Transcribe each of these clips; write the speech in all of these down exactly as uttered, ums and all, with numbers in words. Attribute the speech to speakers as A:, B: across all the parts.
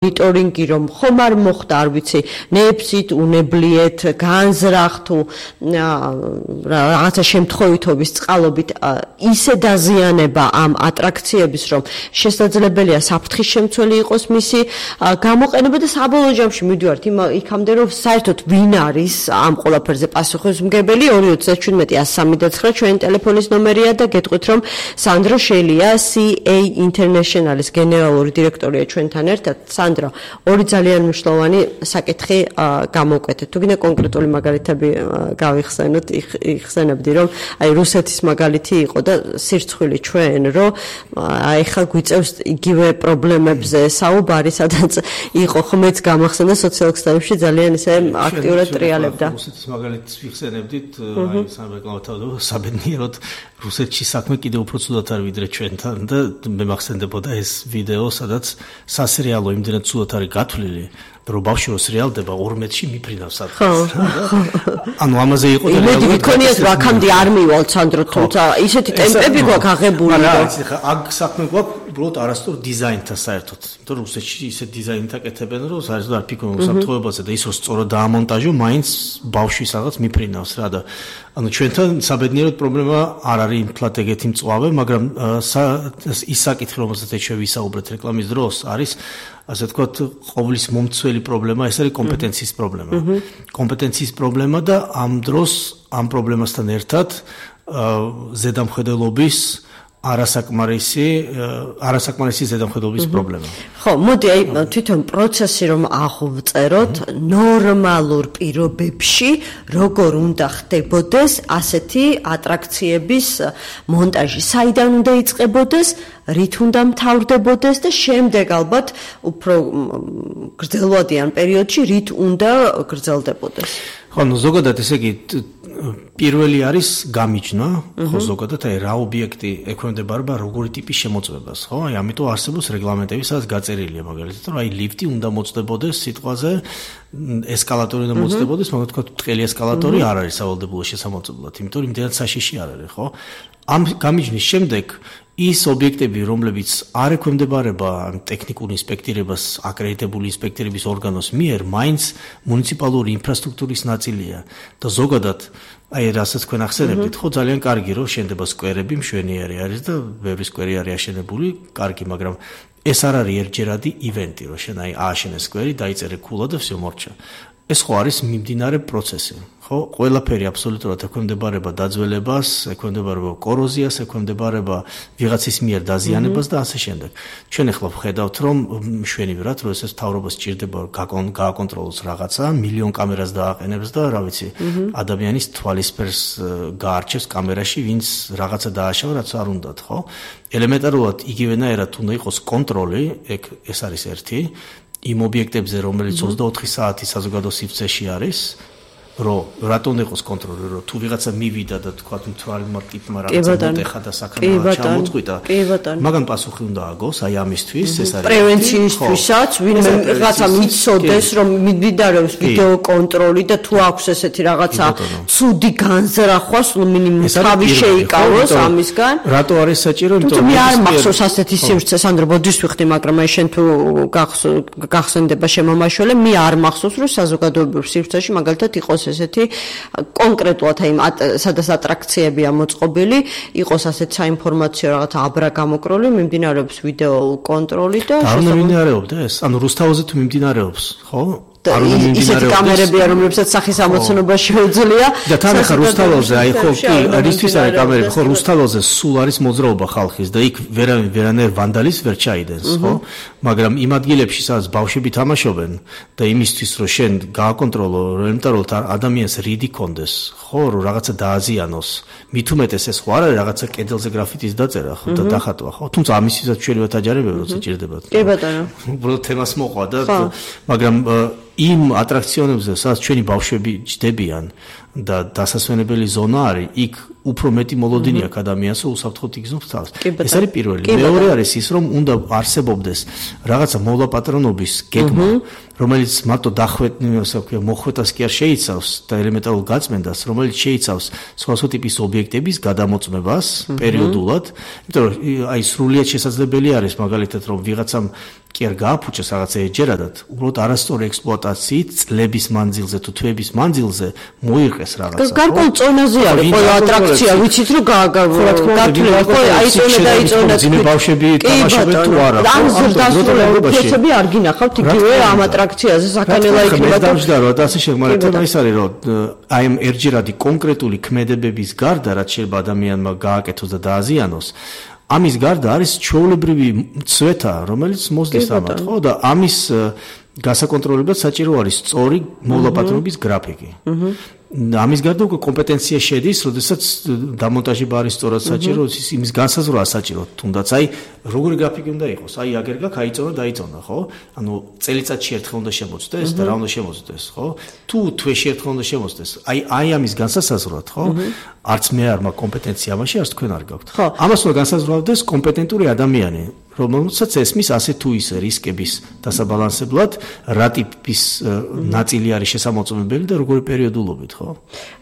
A: მონიტორინგი რომ ხომ არ მოხდა არ ვიცი ნეფსით უნებლიეთ განზრახ თუ რაღაცა შემთხვევითობის წყალობით ისე დაზიანება ამ ატრაქციების რომ შესაძლებელია საფრთხის შემცველი იყოს მისი გამოყენება და საბოლოო ჯამში მივდივართ იქამდე რომ საერთოდ ვინ არის ამ ყველაფერზე პასუხისმგებელი ორი ოცდაათი შვიდმეტი ათს სამი და ცხრა ჩვენი ტელეფონის ნომერია და გეტყვით რომ სანდრო შელია C A International-ის გენერალური დირექტორია ჩვენთან ერთად სანდრო ორი ძალიან მნიშვნელოვანი საკითხი გამოვკვეთეთ. თუ გინდა კონკრეტული მაგალითები გავიხსენოთ, იხსენებდი რომ აი რუსეთის მაგალითი იყო და სირცხვილი ჩვენ რომ აი ხა გვიწევს იგივე პრობლემებზე საუბარი, სადაც იყო ხმეც გამახსენდა სოციალურ ქსელებში ძალიან ისე აქტიურად ტრიალებდა.
B: რუსეთის მაგალითს ვიხსენებდით, აი სამრეკლამო საბედნიეროდ რუსეთში საქმე კიდევ უფრო ცუდად არის ვიდრე ჩვენთან და მე მახსენდებოდა ეს ვიდეო, სადაც სასერიალო იმდენად ცუდად არის გათვლილი, რომ ბავშვი რო სერიალდება ორმეტში მიფრინავს სადღაც. ანუ ამაზე იყო და
A: რეალურად მეკონიათ რომ აქამდე არ მივალ სანდრო, თუმცა ისეთი ტემპები გვაქვს აღებული.
B: მაგრამ იცი ხა აქ საქმე გვაქვს უბრალოდ არასწორ დიზაინთან საერთოდ. იმიტომ რომ რუსეთში ისე დიზაინით აკეთებენ, რომ საერთოდ არ ფიქრობენ უსაფრთხოებაზე და ის რომ სწორად დაამონტაჟო, მაინც ბავშვი სადღაც მიფრინავს რა და ანუ ჩვენთან საბედნიეროდ პრობლემა არ არის იმთლად ეგეთი მწვავე, მაგრამ ის საკითხი, რომელზეც ჩვენ ვისაუბრეთ რეკლამის დროს, არის ასე ვთქვათ, ყოვლის მომცველი პრობლემა, ეს არის კომპეტენციის პრობლემა. კომპეტენციის პრობლემა და ამ დროს ამ პრობლემასთან ერთად ზედამხედველობის არასაკმარისი არასაკმარისი ზედამხედველობის პრობლემა.
A: ხო, მოდი აი თვითონ პროცესი რომ აღვწეროთ ნორმალურ პირობებში, როგორ უნდა ხდებოდეს ასეთი ატრაქციების მონტაჟი, საიდან უნდა იწყებოდეს, რით უნდა მთავრდებოდეს და შემდეგ ალბათ უფრო გრძელვადიან პერიოდში რით უნდა გრძელდებოდეს.
B: ხო, ნუ ზოგადად ესე იგი პირველი არის გამიჯნა, ხო ზოგადად აი რა ობიექტი ექვემდებარება როგორი ტიპის შემოწმებას, ხო? აი ამიტომ არსებობს რეგლამენტები, სადაც გაწერილია მაგალითად, რომ აი ლიფტი უნდა მოწდებოდეს სიტყვაზე, ესკალატორი უნდა მოწდებოდეს, მაგრამ თქვა ბრტყელი ესკალატორი არ არის სავალდებულო შესამოწმებლად, იმიტომ რომ იმდენად საშიში არ არის, ხო? ამ გამიჯნის შემდეგ ის ობიექტები, რომლებიც არ ექვემდებარება ტექნიკურ ინსპექტირებას, აკრედიტებული ინსპექტირების ორგანოს მიერ, მაინც მუნიციპალური ინფრასტრუქტურის ნაწილია და ზოგადად აი რასაც თქვენ ახსენებდით, ხო ძალიან კარგი რომ შენდება სკვერები, მშვენიერი არის და ბევრი სკვერი არის აშენებული, კარგი, მაგრამ ეს არ არის ერთჯერადი ივენტი, რომ შენ აი ააშენე სკვერი, დაიწერე ქულა და всё მორჩა. ეს ხო არის მიმდინარე პროცესი. ხო, ყველაფერი აბსოლუტურად ექვემდებარება დაძველებას, ექვემდებარება კოროზიას, ექვემდებარება ვიღაცის მიერ დაზიანებას და ასე შემდეგ. ჩვენ ახლა ვხედავთ, რომ მშვენივრად, რომ ეს მთავრობას სჭირდება გააკონტროლოს რაღაცა, მილიონ კამერას დააყენებს და რა ვიცი, ადამიანის თვალისფერს გაარჩევს კამერაში, ვინც რაღაცა დააშავა, რაც არ უნდათ, ხო? ელემენტარულად იგივენაირად უნდა იყოს კონტროლი, ეგ ეს არის ერთი იმ ობიექტებზე, რომელიც ოცდაოთხი საათი საზოგადო სივრცეში არის, რომ რატომ იყოს კონტროლი, რომ თუ ვიღაცა მივიდა და თქვა თვალმა ტიპმა რაღაცა მოტეხა და საქმე ჩამოწყვიტა, მაგან პასუხი უნდა აგოს, აი ამისთვის, ეს არის
A: პრევენციისთვისაც, ვინმე რაღაცა მიცოდეს, რომ მიმდინარეობს ვიდეო კონტროლი და თუ აქვს ესეთი რაღაცა ცუდი განზრახვა, სულ მინიმუმ თავი შეიკავოს ამისგან.
B: რატო არის საჭირო?
A: იმიტომ მე არ მახსოვს ასეთი სივრცე, სანდრო, ბოდის ვიხდი, მაგრამ აი შენ თუ გახსენდება შემომაშველე, მე არ მახსოვს, რომ საზოგადოებრივ სივრცეში მაგალითად იყოს ესეთი კონკრეტულად აი სადაც ატრაქციებია მოწყობილი, იყოს ასეთ საინფორმაციო რაღაცა აბრა გამოკროლი, მიმდინარეობს ვიდეო კონტროლი და
B: არ მიმდინარეობდა ეს? ანუ რუსთავაზე თუ მიმდინარეობს, ხო?
A: ისეთი კამერებია, რომლებსაც სახის ამოცნობა შეუძლია
B: და თან ახლა რუსთავაზე აი ხო კი რისთვის არის კამერები, ხო რუსთავაზე სულ არის მოძრაობა ხალხის და იქ ვერავინ ვერანაირ ვანდალის ვერ ჩაიდენს, ხო? მაგრამ იმ ადგილებში, სადაც ბავშვები თამაშობენ და იმისთვის რომ შენ გააკონტროლო, რომ ელემენტარულად ადამიანს რიდი კონდეს, ხო, რომ რაღაცა დააზიანოს, მით უმეტეს ეს ხო არ არის რაღაცა კედელზე გრაფიტის დაწერა, ხო და დახატვა, ხო? თუმცა ამისთვისაც ჩვენი ვათაჯარებები როცა ჭირდებათ.
A: კი ბატონო.
B: უბრალოდ თემას მოყვა და მაგრამ იმ ატრაქციონებზე, სადაც ჩვენი ბავშვები ჯდებიან და დასასვენებელი ზონა არის, იქ უფრო მეტი მოლოდინი აქვს ადამიანს, რომ უსაფრთხოდ იგზნობს თავს. ეს არის პირველი. მეორე არის ის, რომ უნდა არსებობდეს რაღაცა მოლაპატრონობის გეგმა, რომელიც მარტო დახვეტნილს, ასე ვქვია, მოხვეტას კი არ შეიცავს და ელემენტარულ გაწმენდას, რომელიც შეიცავს სხვადასხვა ტიპის ობიექტების გადამოწმებას პერიოდულად, იმიტომ რომ აი სრულიად შესაძლებელი არის მაგალითად, რომ ვიღაცამ კი არ გააფუჭეს რაღაცა ეჯერადად, უბრალოდ არასწორი ექსპლუატაციით წლების მანძილზე თუ თვეების მანძილზე მოიღეს რაღაცა.
A: გარკვეულ წონაზე არის ყველა ატრაქცია, ვიცით რომ გათვლილი ხო აიწონა და აიწონა
B: ძიმე ბავშვები თამაშობენ თუ არა.
A: ამ ზრდასრულებები არ გინახავთ იგივე ამ ატრაქციაზე საქანელა იქნება
B: და დამჯდა რომ ასე შეგმარებთ ის არის რომ აი ამ ერჯერადი კონკრეტული ქმედებების გარდა რაც შეიძლება ადამიანმა გააკეთოს და დააზიანოს ამის გარდა არის ჩვეულებრივი ცვეთა რომელიც მოსდის ამათ ხო და ამის გასაკონტროლებლად საჭირო არის სწორი მოლაპარაკების გრაფიკი. ამის გარდა უკვე კომპეტენცია შედის, როდესაც დამონტაჟება არის სწორად საჭირო, იმის განსაზღვრა საჭირო, თუნდაც აი როგორი გრაფიკი უნდა იყოს. აი აგერ გაქვს, აიწონა და აიწონა, ხო? ანუ წელიწადში ერთხელ უნდა შემოწდეს და რა უნდა შემოწდეს, ხო? თუ თვეში ერთხელ უნდა შემოწდეს. აი აი ამის განსაზღვრად, ხო? არც მე არ მაქვს კომპეტენცია ამაში, არც თქვენ არ გაქვთ. ამას უნდა განსაზღვრავდეს კომპეტენტური ადამიანი. რომელსაც ესმის ასე თუ ისე რისკების დასაბალანსებლად რა ტიპის ნაწილი არის შესამოწმებელი და როგორი პერიოდულობით, ხო?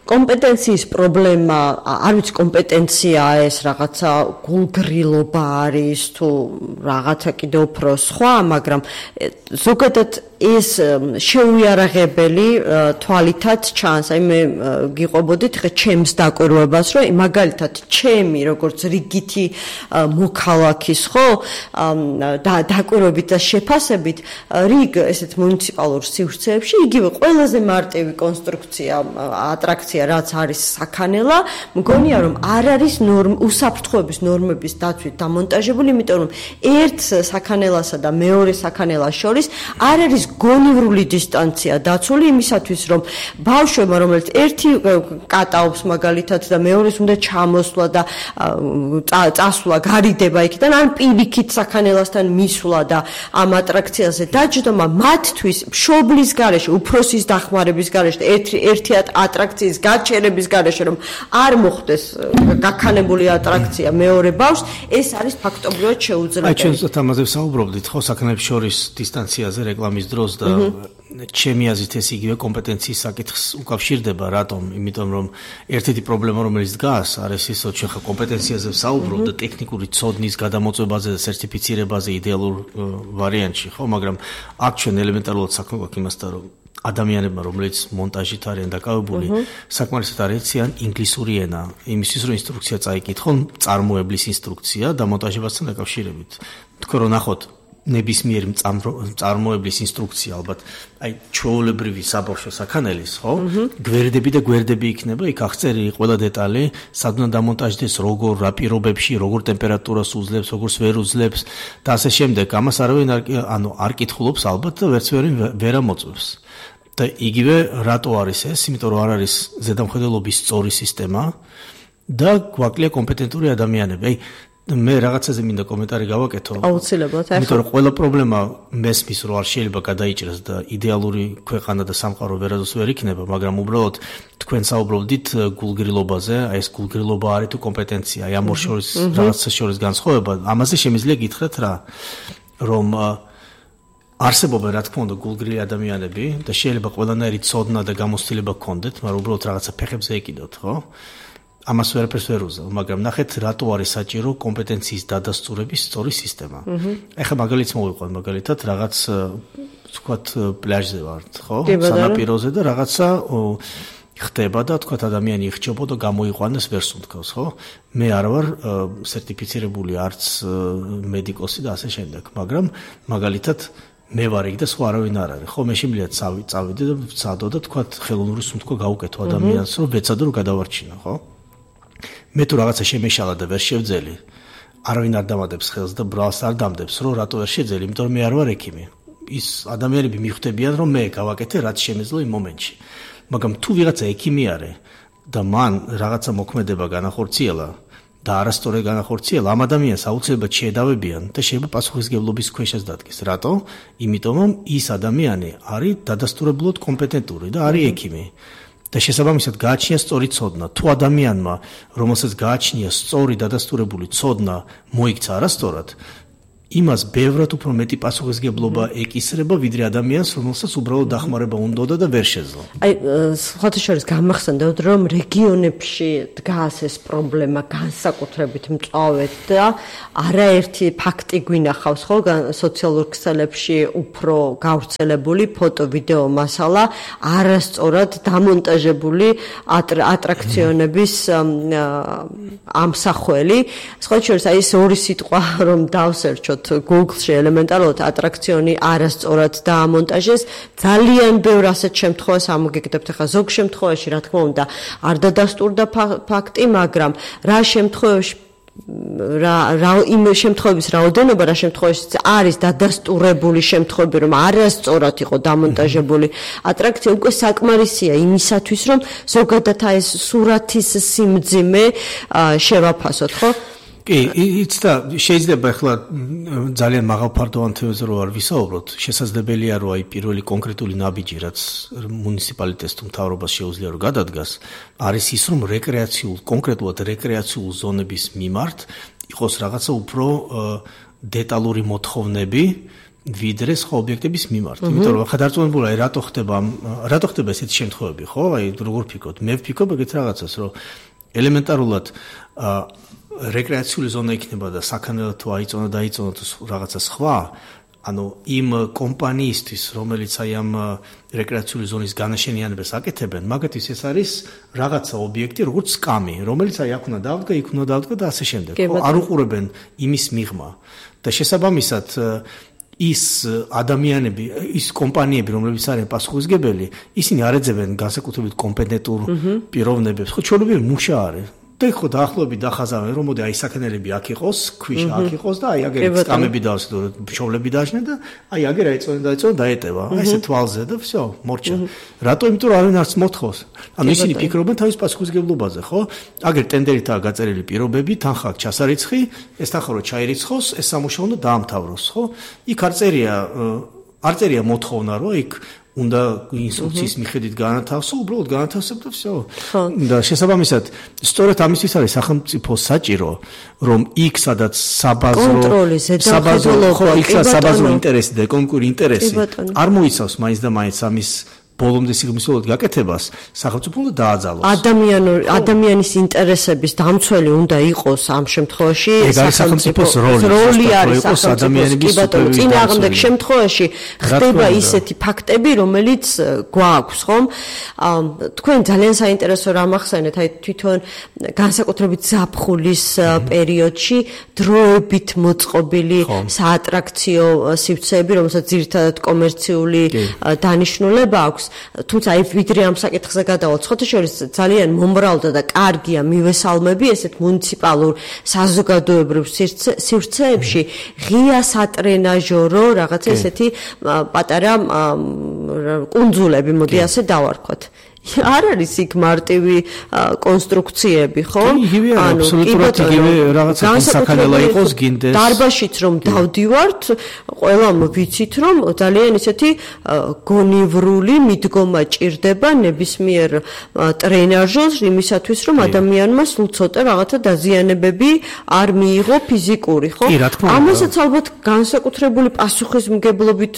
A: კომპეტენციის პრობლემა, არ ვიცი კომპეტენციაა ეს რაღაცა გულგრილობა არის თუ რაღაცა კიდევ უფრო სხვა, მაგრამ ზოგადად ეს შეუიარაღებელი თვალითაც ჩანს. აი მე გიყვებოდით ხე ჩემს დაკვირვებას, რომ მაგალითად ჩემი როგორც რიგითი მოქალაქის, ხო? და დაკვირვებით და შეფასებით რიგ ესეთ მუნიციპალურ სივრცეებში იგივე ყველაზე მარტივი კონსტრუქცია ატრაქცია რაც არის საქანელა მგონია რომ არ არის უსაფრთხოების ნორმების დაცვით დამონტაჟებული იმიტომ რომ ერთ საქანელასა და მეორე საქანელას შორის არ არის გონივრული დისტანცია დაცული იმისათვის რომ ბავშვებმა რომელიც ერთი კატაობს მაგალითად და მეორეს უნდა ჩამოსვლა და წასვლა გარიდება იქიდან ან პირიქით საქანელასთან მისვლა და ამ ატრაქციაზე დაჯდომა მათთვის მშობლის გარეშე, უფროსის დახმარების გარეშე, ერთი ერთი ატრაქციის გაჩერების გარეშე რომ არ მოხდეს გაქანებული ატრაქცია მეორე ბავშვს, ეს არის ფაქტობრივად შეუძლებელი.
B: აი ჩვენ ამაზე ვსაუბრობდით ხო საქანელებს შორის დისტანციაზე რეკლამის დროს და ჩემი აზრით ეს იგივე კომპეტენციის საკითხს უკავშირდება, რატომ? იმიტომ რომ ერთ-ერთი პრობლემა რომელიც დგას არის ის რომ ჩვენ ხა კომპეტენციაზე ვსაუბრობთ და ტექნიკური ცოდნის გადამოწმებაზე და სერტიფიცირებაზე იდეალურ ვარიანტში, ხო, მაგრამ აქ ჩვენ ელემენტარულად საქმე გვაქვს იმასთან, რომ ადამიანებმა, რომელიც მონტაჟით არიან დაკავებული, საკმარისად არ ეციან ინგლისური ენა, იმისთვის რომ ინსტრუქცია წაიკითხონ, წარმოებლის ინსტრუქცია დამონტაჟებასთან დაკავშირებით. თქვენ რომ ნახოთ ნებისმიერი წარმოებლის ინსტრუქცია ალბათ აი ჩვეულებრივი საბავშვო საქანელის, ხო? გვერდები და გვერდები იქნება, იქ აღწერილი ყველა დეტალი, სად უნდა დამონტაჟდეს, როგორ, რა პირობებში, როგორ ტემპერატურას უძლებს, როგორს ვერ უძლებს და ასე შემდეგ. ამას არავინ არ ანუ არ კითხულობს ალბათ და ვერც ვერი ვერ ამოწმებს. და იგივე რატო არის ეს? იმიტომ რომ არ არის ზედამხედველობის სწორი სისტემა და გვაკლია კომპეტენტური ადამიანები. აი მე რაღაცაზე მინდა კომენტარი გავაკეთო.
A: აუცილებლად, ახლა.
B: იმიტომ რომ ყველა პრობლემა მესმის რომ არ შეიძლება გადაიჭრას და იდეალური ქვეყანა და სამყარო ვერასდროს ვერ იქნება, მაგრამ უბრალოდ თქვენ საუბრობდით გულგრილობაზე, აი ეს გულგრილობა არის თუ კომპეტენცია, აი ამ ორ შორის რაღაცა შორის განსხვავება, ამაზე შემიძლია გითხრათ რა, რომ არსებობენ რა თქმა უნდა გულგრილი ადამიანები და შეიძლება ყველანაირი ცოდნა და გამოცდილება გქონდეთ, მაგრამ უბრალოდ რაღაცა ფეხებზე ეკიდოთ, ხო? ამას ვერაფერს ვერ უზავ, მაგრამ ნახეთ რატო არის საჭირო კომპეტენციის დადასტურების სწორი სისტემა. ეხლა მაგალითს მოვიყვან, მაგალითად რაღაც თქვათ პლაჟზე ვართ, ხო? სანაპიროზე და რაღაცა ხდება და თქვათ ადამიანი იხჭობა და გამოიყვანეს ვერს უთქავს, ხო? მე არ ვარ სერტიფიცირებული არც მედიკოსი და ასე შემდეგ, მაგრამ მაგალითად მე ვარ იქ და სხვა არავინ არ არის. ხო, მე შემიძლია წავიდე და ვცადო და თქვათ ხელოვნური სუნთქვა გავუკეთო ადამიანს, რომ ვეცადო რომ გადავარჩინო, ხო? მე თუ რაღაცა შემეშალა და ვერ შევძელი, არავინ არ დამადებს ხელს და ბრალს არ დამდებს, რომ რატო ვერ შეძელი, იმიტომ რომ მე არ ვარ ექიმი. ის ადამიანები მიხვდებიან, რომ მე გავაკეთე რაც შემეძლო იმ მომენტში. მაგრამ თუ ვიღაცა ექიმი არის და მან რაღაცა მოქმედება განახორციელა და არასწორად განახორციელა, ამ ადამიანს აუცილებლად შეედავებიან და შეიძლება პასუხისმგებლობის ქვეშაც დადგეს. რატო? იმიტომ რომ ის ადამიანი არის დადასტურებლად კომპეტენტური და არის ექიმი. და შესაბამისად გააჩნია სწორი ცოდნა. თუ ადამიანმა, რომელსაც გააჩნია სწორი დადასტურებული ცოდნა, მოიქცა არასწორად, იმას ბევრად უფრო მეტი პასუხისგებლობა ეკისრება, ვიდრე ადამიანს, რომელსაც უბრალოდ დახმარება უნდოდა და ვერ შეძლო.
A: აი, სხვათა შორის გამახსენდათ, რომ რეგიონებში დგას ეს პრობლემა განსაკუთრებით მწვავედ და არაერთი ფაქტი გვინახავს, ხო, სოციალურ ქსელებში უფრო გავრცელებული ფოტო, ვიდეო მასალა, არასწორად დამონტაჟებული ატრაქციონების ამსახველი. სხვათა შორის აი ეს ორი სიტყვა რომ დავსერჩოთ Google-ში ელემენტარულად ატრაქციონი არასწორად დაამონტაჟეს, ძალიან ბევრ ასეთ შემთხვევას ამოგეკეთებთ. ახლა ზოგ შემთხვევაში, რა თქმა უნდა, არ დადასტურდა ფაქტი, მაგრამ რა შემთხვევაში რა რა იმ შემთხვევების რაოდენობა, რა შემთხვევაში არის დადასტურებული შემთხვევები, რომ არასწორად იყო დამონტაჟებული ატრაქცია, უკვე საკმარისია იმისათვის, რომ ზოგადად ეს სურათის სიმძიმე შევაფასოთ, ხო?
B: კი, იც და შეიძლება ახლა ძალიან მაღალფარდოვან თემაზე რო არ ვისაუბროთ, შესაძლებელია რომ აი პირველი კონკრეტული ნაბიჯი, რაც მუნიციპალიტეტს თუ მთავრობას შეუძლია რომ გადადგას, არის ის რომ რეკრეაციულ, კონკრეტულად რეკრეაციულ ზონების მიმართ იყოს რაღაცა უფრო დეტალური მოთხოვნები ვიდრე სხვა ობიექტების მიმართ. იმიტომ რომ ახლა დარწმუნებულია, რატო ხდება რატო ხდება ესეთი შემთხვევები, ხო? აი როგორ ვფიქრობთ? მე ვფიქრობ ეგეთ რაღაცას, რომ ელემენტარულად რეკრეაციული ზონა იქნება და საქანელად თუ აიწონა და აიწონა თუ რაღაცა სხვა, ანუ იმ კომპანიისთვის, რომელიც აი ამ რეკრეაციული ზონის განაშენიანებას აკეთებენ, მაგათთვის ეს არის რაღაცა ობიექტი, როგორც სკამი, რომელიც აი აქ უნდა დავდგა, იქ უნდა დავდგა და ასე შემდეგ. არ უყურებენ იმის მიღმა და შესაბამისად ის ადამიანები, ის კომპანიები, რომლებიც არიან პასუხისმგებელი, ისინი არ ეძებენ განსაკუთრებით კომპეტენტურ პიროვნებებს. ხო, ჩვეულებრივი მუშა არის. და ხო დაახლოებით დახაზავენ, რომ მოდი აი საქანელები აქ იყოს, ქვიშა აქ იყოს და აი აგერ სკამები დავსდო, მშობლები დააშნენ და აი აგერ აიწონენ და აიწონენ დაეტევა. აი ესე თვალზე და всё, მორჩა. რატო? იმიტომ რომ არავინ არც მოთხოვს. ანუ ისინი ფიქრობენ თავის პასუხისმგებლობაზე, ხო? აგერ ტენდერითაა გაწერილი პირობები, თანხა აქვს ჩასარიცხი, ეს თანხა რო ჩაირიცხოს, ეს სამუშაო უნდა დაამთავროს, ხო? იქ არ წერია არ წერია მოთხოვნა, რომ იქ უნდა ინსტრუქციის მიხედვით განათავსო, უბრალოდ განათავსებ და всё. და შესაბამისად, სწორედ ამისთვის არის სახელმწიფო საჭირო, რომ იქ სადაც საბაზრო საბაზრო იქ საბაზრო ინტერესი და ეკონომიკური ინტერესი არ მოიცავს მაინც და მაინც ამის ბოლომდე სიღრმისეულად გაკეთებას, სახელმწიფო უნდა დააძალოს.
A: ადამიანური ადამიანის ინტერესების დამცველი უნდა იყოს ამ შემთხვევაში
B: სახელმწიფოს როლი
A: არის ადამიანების წინააღმდეგ შემთხვევაში ხდება ისეთი ფაქტები, რომელიც გვაქვს, ხომ? თქვენ ძალიან საინტერესო რამ ახსენეთ, აი თვითონ განსაკუთრებით ზაფხულის პერიოდში დროებით მოწყობილი საატრაქციო სივრცეები, რომელსაც ძირითადად კომერციული დანიშნულება აქვს. თუმცა აი ვიდრე ამ საკითხზე გადავალთ, ხოთა შორის ძალიან მომრავლდა და კარგია მივესალმები ესეთ მუნიციპალურ საზოგადოებრივ სივრცეებში ღია სატრენაჟორო რაღაცა ესეთი პატარა კუნძულები, მოდი ასე დავარქვათ. არ არის იქ მარტივი კონსტრუქციები, ხო?
B: ანუ აბსოლუტურად იგივე რაღაცა საქანელა იყოს გინდეს.
A: დარბაშიც რომ დავდივართ, ყველამ ვიცით რომ ძალიან ისეთი გონივრული მიდგომა ჭირდება ნებისმიერ ტრენაჟორს იმისათვის რომ ადამიანმა სულ ცოტა რაღაცა დაზიანებები არ მიიღო ფიზიკური, ხო? ამასაც ალბათ განსაკუთრებული პასუხისმგებლობით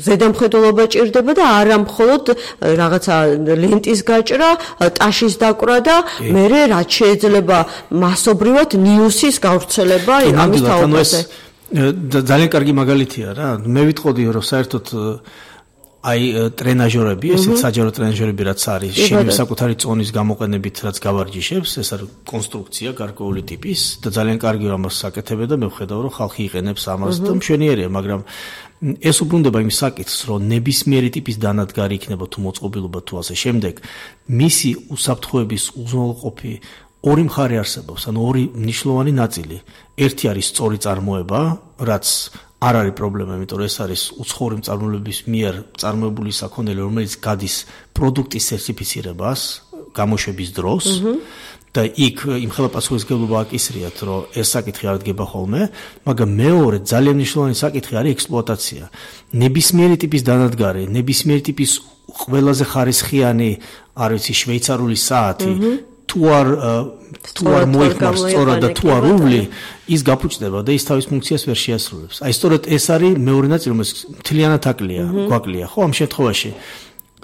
A: ზედამხედველობა ჭირდება და არა მხოლოდ რაღაცა ლენტის გაჭრა, ტაშის დაკვრა და მერე რაც შეიძლება მასობრივად ნიუსის გავრცელება ამის თაობაზე.
B: ძალიან კარგი მაგალითია რა. მე ვიტყოდი რომ საერთოდ აი ტრენაჟორები, ესეც საჯარო ტრენაჟორები რაც არის, შენი საკუთარი წონის გამოყენებით რაც გავარჯიშებს, ეს არის კონსტრუქცია გარკვეული ტიპის და ძალიან კარგი რომ ამას საკეთებენ და მე ვხედავ რომ ხალხი იყენებს ამას და მშვენიერია, მაგრამ ეს უბრუნდება იმ საკითხს, რომ ნებისმიერი ტიპის დანადგარი იქნება თუ მოწყობილობა თუ ასე შემდეგ, მისი უსაფრთხოების უზრუნველყოფი ორი მხარე არსებობს, ანუ ორი მნიშვნელოვანი ნაწილი. ერთი არის სწორი წარმოება, რაც არ არის პრობლემა, იმიტომ რომ ეს არის უცხოური მწარმოებლების მიერ წარმოებული საქონელი, რომელიც გადის პროდუქტის სერტიფიცირებას გამოშვების დროს. და იქ იმხელა პასუხისმგებლობა აკისრიათ, რომ ეს საკითხი არ დგება ხოლმე, მაგრამ მეორე ძალიან მნიშვნელოვანი საკითხი არის ექსპლუატაცია. ნებისმიერი ტიპის დანადგარი, ნებისმიერი ტიპის ყველაზე ხარისხიანი, არ ვიცი, შვეიცარიული საათი თუ არ თუ არ მოიხმარს სწორად და თუ არ უვლი ის გაფუჭდება და ის თავის ფუნქციას ვერ შეასრულებს. აი სწორედ ეს არის მეორე ნაწილი, რომელიც მთლიანად აკლია, გვაკლია, ხო ამ შემთხვევაში.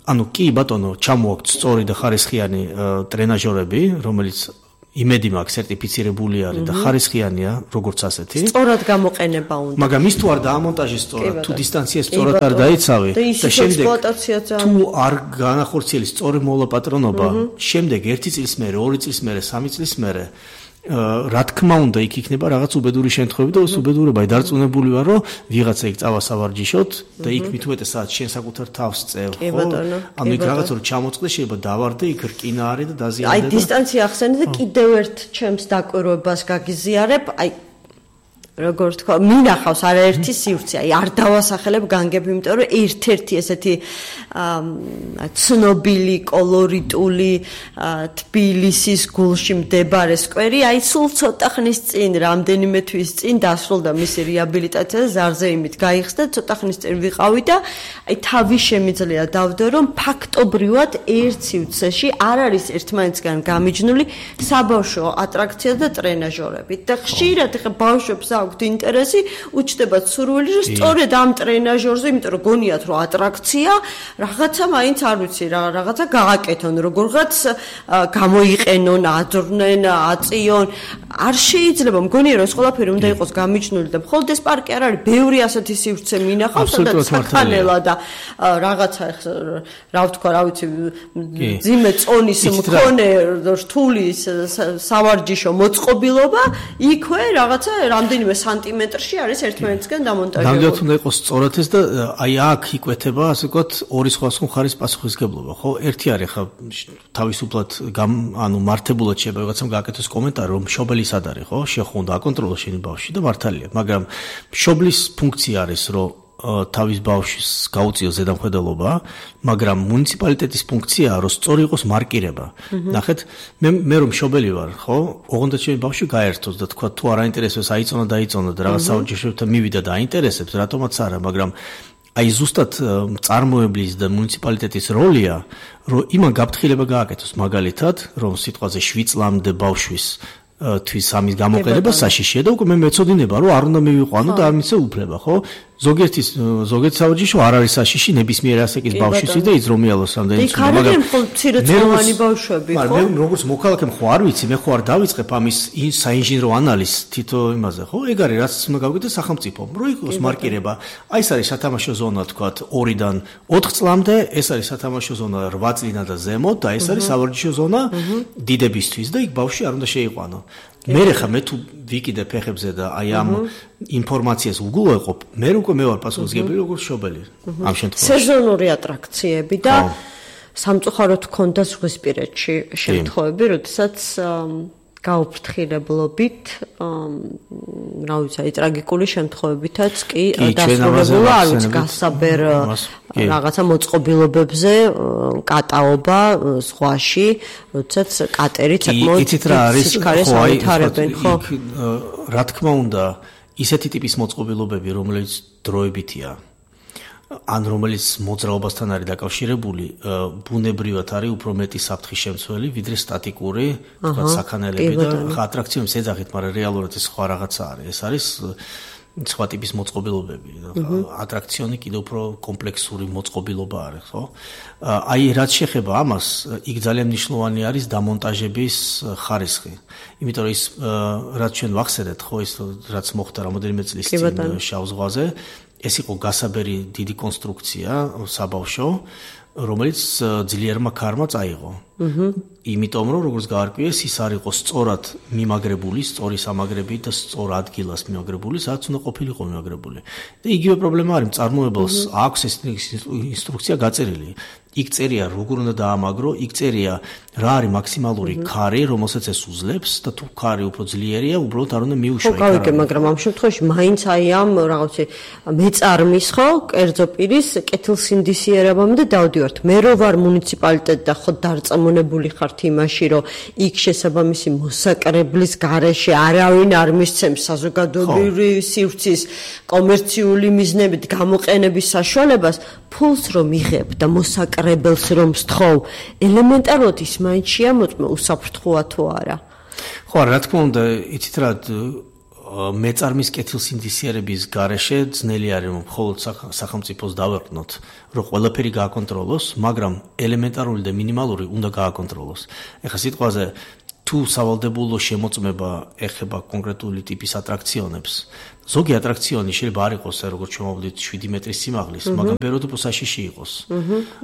B: ანუ კი ბატონო, ჩამოაქვთ სწორი და ხარისხიანი ტრენაჟორები, რომელიც იმედი მაქვს სერტიფიცირებული არის და ხარისხიანია, როგორც ასეთი.
A: სწორად გამოყენება უნდა.
B: მაგრამ ის თუ არ დაამონტაჟეს სწორად, თუ დისტანცია სწორად არ დაიცავი
A: და შემდეგ
B: თუ არ განახორციელის სწორი მოლაპატრონობა, შემდეგ ერთი წლის მერე, ორი წლის მერე, სამი წლის მერე რა თქმა უნდა იქ იქნება რაღაც უბედური შემთხვევები და ეს უბედურება დარწმუნებული ვარ რომ ვიღაცა იქ წავა სავარჯიშოთ და იქ მით უმეტესად შენ საკუთარ თავს წევ ხო ანუ იქ რაღაც რო ჩამოწყდეს შეიძლება დავარდე იქ რკინა არის და დაზიანდა
A: აი დისტანცია ახსენე და კიდევ ერთ ჩემს დაკვირვებას გაგიზიარებ აი როგორც თქვა მინახავს არაერთი სივრცე აი არ დავასახელებ განგები იმიტომ რომ ერთ-ერთი ესეთი ცნობილი კოლორიტული თბილისის გულში მდებარე სკვერი აი სულ ცოტა ხნის წინ რამდენიმე თვის წინ დასრულდა მისი რეაბილიტაცია და ზარზეიმით გაიხსნა ცოტა ხნის წინ ვიყავი და აი თავი შემიძლია დავდო რომ ფაქტობრივად ერთ სივრცეში არ არის ერთმანეთსგან გამიჯნული საბავშვო ატრაქცია და ტრენაჟორები და ხშირად ხა ბავშვებს აქვთ ინტერესი უჩნდებათ სურვილი რომ სწორედ ამ ტრენაჟორზე იმიტომ რომ გონიათ რომ ატრაქცია რაღაცა მაინც არ ვიცი რა რაღაცა გააკეთონ როგორღაც გამოიყენონ აძრნენ აწიონ არ შეიძლება მგონია რომ ეს ყველაფერი უნდა იყოს გამიჯნული და მხოლოდ ეს პარკი არ არის ბევრი ასეთი სივრცე მინახავს სადაც საქანელა და რაღაცა რა ვთქვა რა ვიცი ძიმე წონის მქონე რთული სავარჯიშო მოწყობილობა იქვე რაღაცა რამდენიმე სანტიმეტრში არის ერთმანეთსგან დამონტაჟებული.
B: ნამდვილად უნდა იყოს სწორად ეს და აი აქ იკვეთება ასე ვთქვათ ორი სხვადასხვა ხარის პასუხისგებლობა, ხო? ერთი არის ხა თავისუფლად ანუ მართებულად შეიძლება ვიღაცამ გააკეთოს კომენტარი რომ მშობელი სად არის, ხო? შეხო უნდა აკონტროლოს შენი ბავშვი და მართალია, მაგრამ მშობლის ფუნქცია არის რომ თავის ბავშვის გაუწიოს ზედამხედველობა, მაგრამ მუნიციპალიტეტის ფუნქციაა რომ სწორი იყოს მარკირება. ნახეთ, მე მე რომ მშობელი ვარ, ხო? ოღონდ ჩემი ბავშვი გაერთოს და თქვა თუ არ აინტერესებს აიწონა და აიწონა და რაღაც საურჯიშოებთან მივიდა და აინტერესებს, რატომაც არა, მაგრამ აი ზუსტად წარმოებლის და მუნიციპალიტეტის როლია, რომ იმან გაფრთხილება გააკეთოს მაგალითად, რომ სიტყვაზე შვიდ წლამდე ბავშვის თვის ამის გამოყენება საშიშია და უკვე მე მეწოდინება რომ არ უნდა მივიყვანო და არ მიცე უფლება, ხო? ზოგიერთი ზოგიერთი საურჯიშო არ არის საშიში ნებისმიერ ასაკის ბავშვისთვის და იზრომიალოს რამდენი
A: ცნობა, მაგრამ მცირეწლოვანი ბავშვები, ხო?
B: მაგრამ მე როგორც მოქალაქე ხო არ ვიცი, მე ხო არ დავიწყებ ამის საინჟინრო ანალიზს თითო იმაზე, ხო? ეგ არის რაც უნდა გავიგდეს სახელმწიფომ, რომ იყოს მარკირება. აი ეს არის სათამაშო ზონა, თქვათ, ორიდან ოთხ წლამდე, ეს არის სათამაშო ზონა რვა წლიდან და ზემოთ და ეს არის სავარჯიშო ზონა დიდებისთვის და იქ ბავშვი არ უნდა შეიყვანო. მე ხა მე თუ ვიკიდე ფეხებზე და აი ამ ინფორმაციას უგულოეყობ, მე უკვე მე ვარ პასუხისმგებელი როგორც მშობელი ამ შემთხვევაში.
A: სეზონური ატრაქციები და სამწუხაროდ ქონდა ზღვისპირეთში შემთხვევები, როდესაც გაუფრთხილებლობით, რა ვიცი, აი ტრაგიკული შემთხვევებითაც კი დასრულებულა, არ ვიცი, გასაბერ რაღაცა მოწყობილობებზე კატაობა ზღვაში, როდესაც კატერი საკმაოდ სიჩქარეს ავითარებენ, ხო?
B: რა თქმა უნდა, ისეთი ტიპის მოწყობილობები, რომელიც დროებითია, ან რომელიც მოძრაობასთან არის დაკავშირებული, ბუნებრივად არის უფრო მეტი საფრთხის შემცველი, ვიდრე სტატიკური, თქვა საქანელები და ატრაქციების ეძახით, მაგრამ რეალურად ეს სხვა რაღაცა არის. ეს არის სხვა ტიპის მოწყობილობები. ატრაქციონი კიდევ უფრო კომპლექსური მოწყობილობა არის, ხო? აი, რაც შეეხება ამას, იქ ძალიან მნიშვნელოვანი არის დამონტაჟების ხარისხი. იმიტომ რომ ის რაც ჩვენ ვახსენეთ, ხო, ის რაც მოხდა რამოდენიმე წლის წინ შავ ზღვაზე, ეს იყო გასაბერი დიდი კონსტრუქცია საბავშვო, რომელიც ძლიერმა ქარმა წაიღო. იმიტომ რომ როგორც გაარკვიეს, ის არ იყო სწორად მიმაგრებული, სწორი სამაგრებით და სწორ ადგილას მიმაგრებული, სადაც უნდა ყოფილიყო მიმაგრებული. და იგივე პრობლემა არის, მწარმოებელს აქვს ეს ინსტრუქცია გაწერილი. იქ წერია როგორ უნდა დაამაგრო, იქ წერია რა არის მაქსიმალური ქარი, რომელსაც ეს უძლებს და თუ ქარი უფრო ძლიერია, უბრალოდ არ უნდა მიუშვა.
A: ხო, გავიგე, მაგრამ ამ შემთხვევაში მაინც აი ამ რაღაცე მეწარმის ხო, კერძო პირის კეთილსინდისიერებამდე დავდივართ. მე რო ვარ მუნიციპალიტეტი და ხო დარწმუნებული ხართ იმაში, რომ იქ შესაბამისი მოსაკრებლის გარეშე არავინ არ მისცემს საზოგადოებრივი სივრცის კომერციული მიზნებით გამოყენების საშუალებას, ფულს რომ იღებ და მოსაკრ მაყრებელს რომ სთხოვ, ელემენტარულად ის მაინც შეამოწმე უსაფრთხოა თუ არა.
B: ხო, რა თქმა უნდა, იცით რა მეწარმის კეთილსინდისიერების გარეშე ძნელი არის რომ მხოლოდ სახელმწიფოს დავეყნოთ, რომ ყველაფერი გააკონტროლოს, მაგრამ ელემენტარული და მინიმალური უნდა გააკონტროლოს. ეხლა სიტყვაზე თუ სავალდებულო შემოწმება ეხება კონკრეტული ტიპის ატრაქციონებს, ზოგი ატრაქციონი შეიძლება არ იყოს, როგორც ჩამოვდით შვიდი მეტრის სიმაღლის, მაგრამ ბევრად უფრო საშიში იყოს.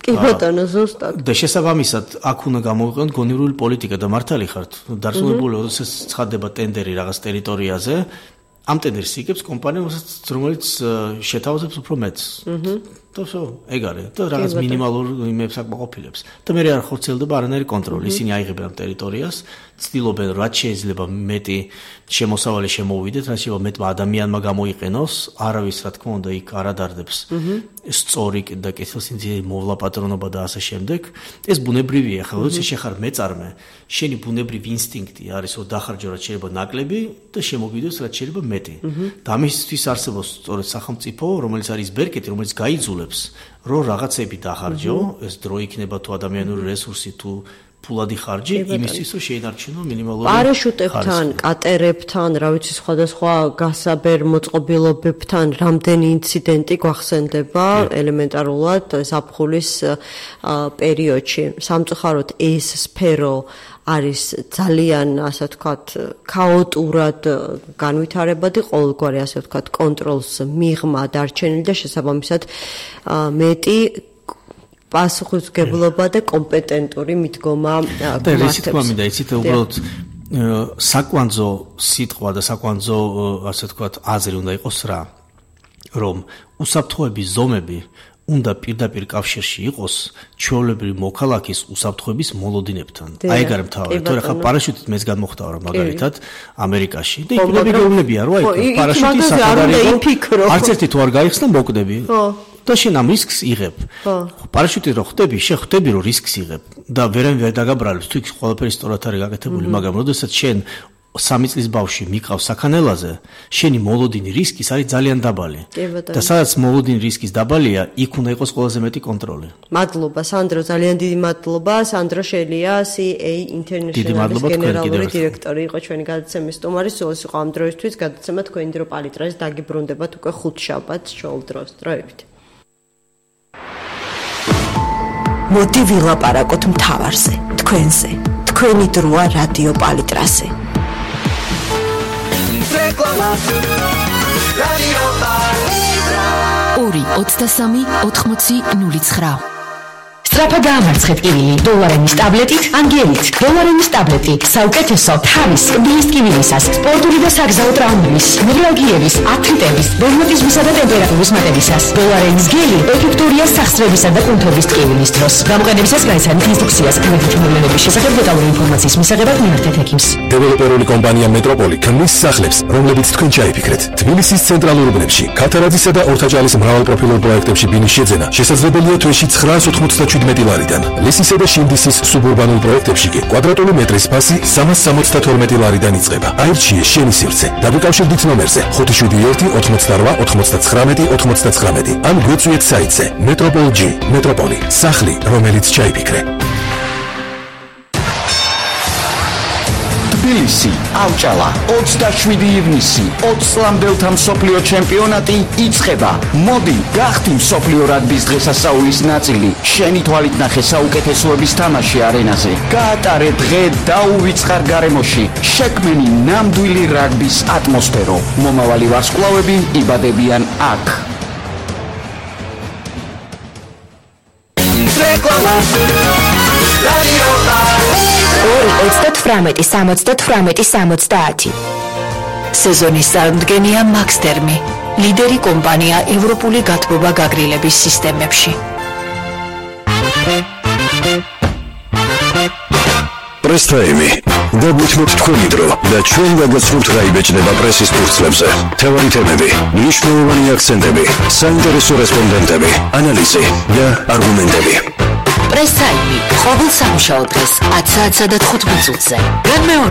A: კი ბატონო, ზუსტად.
B: და შესაბამისად, აქ უნდა გამოვიყენოთ გონივრული პოლიტიკა და მართალი ხართ. დარწმუნებული, როდესაც ცხადდება ტენდერი რაღაც ტერიტორიაზე, ამ ტენდერს იგებს კომპანია, რომელიც შეთავაზებს უფრო მეტს. და всё, ეგ არის. და რაღაც მინიმალურ იმებს აკმაყოფილებს. და მე არ ხორცელდება არანაირი კონტროლი. ისინი აიღებენ ამ ტერიტორიას, ცდილობენ რაც შეიძლება მეტი შემოსავალი შემოვიდეთ, რაც შეიძლება მეტმა ადამიანმა გამოიყენოს, არავის რა თქმა უნდა იქ არ ადარდებს. სწორი და კეთილსინდისიერი მოვლა პატრონობა და ასე შემდეგ. ეს ბუნებრივია, ხო, როცა შეხარ მეწარმე, შენი ბუნებრივი ინსტინქტი არის, რომ დახარჯო რაც შეიძლება ნაკლები და შემოვიდოს რაც შეიძლება მეტი. და ამისთვის არსებობს სწორედ სახელმწიფო, რომელიც არის ბერკეტი, რომელიც გაიძულებს, რომ რაღაცები დახარჯო, ეს დრო იქნება თუ ადამიანური რესურსი თუ ფულადი ხარჯი, იმისთვის რომ შეინარჩუნო მინიმალური
A: პარაშუტებთან, კატერებთან, რა ვიცი, სხვადასხვა გასაბერ მოწყობილობებთან რამდენი ინციდენტი გვახსენდება ელემენტარულად ზაფხულის პერიოდში. სამწუხაროდ ეს სფერო არის ძალიან, ასე ვთქვათ, ქაოტურად განვითარებადი, ყოველგვარი, ასე ვთქვათ, კონტროლს მიღმა დარჩენილი და შესაბამისად მეტი პასუხისმგებლობა და კომპეტენტური მიდგომა
B: გვმართებს. და რითი თქვა მინდა, იცით, უბრალოდ საკვანძო სიტყვა და საკვანძო, ასე ვთქვათ, აზრი უნდა იყოს რა, რომ უსაფრთხოების ზომები უნდა პირდაპირ კავშირში იყოს ჩვეულებრივი მოქალაქის უსაფრთხოების მოლოდინებთან. აი ეგ არის მთავარი. თორე ხა პარაშუტით მეც გადმოხტავა რა მაგალითად ამერიკაში და იქნები გეუბნებია რომ აი პარაშუტი საკადარი არც ერთი თუ არ გაიხსნა მოკვდები. და შენ ამ რისკს იღებ. პარაშუტით რო ხდები, შეხვდები რომ რისკს იღებ და ვერან ვერ დაგაბრალებს თუ იქ ყველაფერი სწორად არის გაკეთებული, მაგრამ როდესაც შენ სამი წლის ბავშვი მიყავს საქანელაზე, შენი მოლოდინი რისკის არის ძალიან დაბალი. და სადაც მოლოდინი რისკის დაბალია, იქ უნდა იყოს ყველაზე მეტი კონტროლი.
A: მადლობა სანდრო, ძალიან დიდი მადლობა. სანდრო შელია, C A International-ის გენერალური დირექტორი იყო ჩვენი გადაცემის სტუმარი. სულ ეს იყო ამ დროისთვის, გადაცემა თქვენი დრო პალიტრაზე დაგიბრუნდებათ უკვე ხუთშაბათს ჩვეულ დროს. დროებით.
C: მოდი ვილაპარაკოთ მთავარზე, თქვენზე. თქვენი დროა რადიო პალიტრაზე.
D: ორი ოცდასამი ოთხმოცი ნული ცხრა.
E: სწრაფად დაამარცხეთ კივილი დოლარენის ტაბლეტით, ანგელით. დოლარენის ტაბლეტი საუკეთესო თავის კბილის კივილისას, სპორტული და საგზაო ტრაუმების, ნევრალგიების, ართრიტების, რევმატიზმისა და ტემპერატურის მატებისას. დოლარენის გელი ეფექტურია სახსრებისა და კუნთობის ტკივილის დროს. გამოყენებისას გაიცანით ინსტრუქციას კრედიტ მოვლენების შესახებ დეტალური ინფორმაციის მისაღებად მიმართეთ ექიმს.
F: დეველოპერული კომპანია მეტროპოლი ქმნის სახლებს, რომლებიც თქვენ ჩაიფიქრეთ. თბილისის ცენტრალურ უბნებში, ქათარაძისა და ორთაჭალის მრავალპროფილურ პროექტებში ბინის შეძენა შესაძლებელია თვეში ცხრაას ოცდაშვიდმეტი ლარიდან. ლისისა და შინდისის სუბურბანულ პროექტებში კი კვადრატული მეტრის ფასი სამას სამოცდათორმეტი ლარიდან იწყება. აირჩიე შენი სივრცე. დაგიკავშირდით ნომერზე ხუთი შვიდი ერთი ოთხმოცდარვა ოთხმოცდაცხრამეტი ოთხმოცდაცხრამეტი. ან გვეწვიეთ საიტზე Metropol G. მეტროპოლი. სახლი, რომელიც ჩაიფიქრე.
G: თბილისი, ავჭალა, ოცდაშვიდი ივნისი, ოცლამდელთა მსოფლიო ჩემპიონატი იწყება. მოდი, გახდი მსოფლიო რაგბის დღესასწაულის ნაწილი. შენი თვალით ნახე საუკეთესოების თამაში არენაზე. გაატარე დღე დაუვიწყარ გარემოში. შექმენი ნამდვილი რაგბის ატმოსფერო. მომავალი ვარსკვლავები იბადებიან აქ.
E: ორი ოცდათვრამეტი სამოცდათვრამეტი სამოცდაათი.
C: სეზონის წარმდგენია მაქსტერმი, ლიდერი კომპანია ევროპული გათბობა გაგრილების სისტემებში.
F: პრესტაიმი. დაგვითმოთ თქვენი დრო და ჩვენ გაგაცნობთ რა იბეჭდება პრესის ფურცლებზე. თევარი თემები, მნიშვნელოვანი აქცენტები, საინტერესო რესპონდენტები, ანალიზი და არგუმენტები.
C: პრესაიმი, ყოველ სამშაბათ დღეს ათსა და თხუთმეტ წუთზე. განმეორე